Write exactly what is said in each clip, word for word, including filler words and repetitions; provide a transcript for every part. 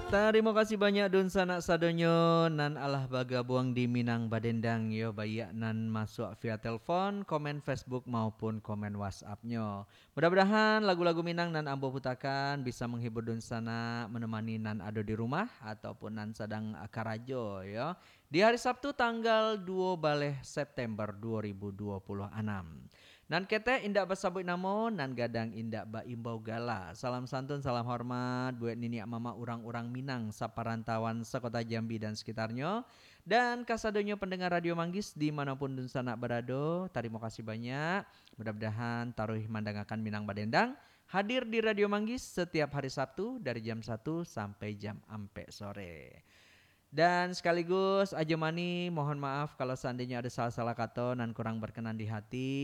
Tarimo kasih banyak dunsanak sadonyo nan alah bagabuang di Minang Badendang yo, baiak nan masuak via telepon, komen Facebook maupun komen WhatsApp-nyo. Mudah-mudahan lagu-lagu Minang nan ambo putakan bisa menghibur dunsanak, menemani nan ado di rumah ataupun nan sadang karajo yo. Di hari Sabtu tanggal duo baleh September duo ribu duo puluh anam. Nan ketek indak basabuik namo, nan gadang indak baimbau gala. Salam santun, salam hormat buek niniak mamak urang-urang Minang saparantauan sakota Jambi dan sekitarnyo, dan kasadonyo pendengar Radio Manggis di manopun dunsanak barado, tarimo kasih banyak. Mudah-mudahan taruih mandangakan Minang Badendang, hadir di Radio Manggis setiap hari Sabtu dari jam satu sampai jam ampek sore. Dan sekaligus Ajo Mani, mohon maaf kalau seandainya ada salah-salah kato nan kurang berkenan di hati.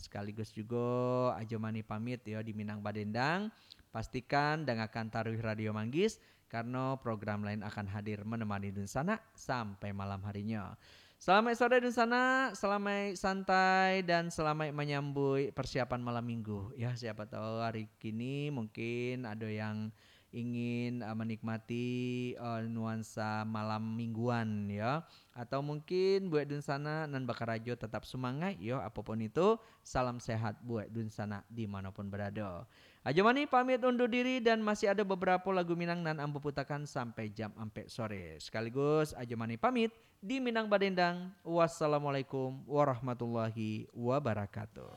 Sekaligus jugo Ajo Mani pamit yo di Minang Badendang. Pastikan dangakan taruih Radio Manggis, karno program lain akan hadir menemani dunsanak sampai malam harinyo. Salamaik sore dunsanak, salamaik santai, dan salamaik manyambuik persiapan malam minggu. Ya, siapa tahu hari kini mungkin ada yang ingin, uh, menikmati, uh, nuansa malam mingguan, ya. Atau mungkin buek dunsanak nan bakarajo tetap sumangaik, yo. Apapun itu, salam sehat buek dunsanak di manopun berado. Ajo Mani pamit undur diri dan masih ada beberapa lagu Minang nan ambo putakan sampai jam ampek sore. Sekaligus Ajo Mani pamit di Minang Badendang. Wassalamualaikum warahmatullahi wabarakatuh.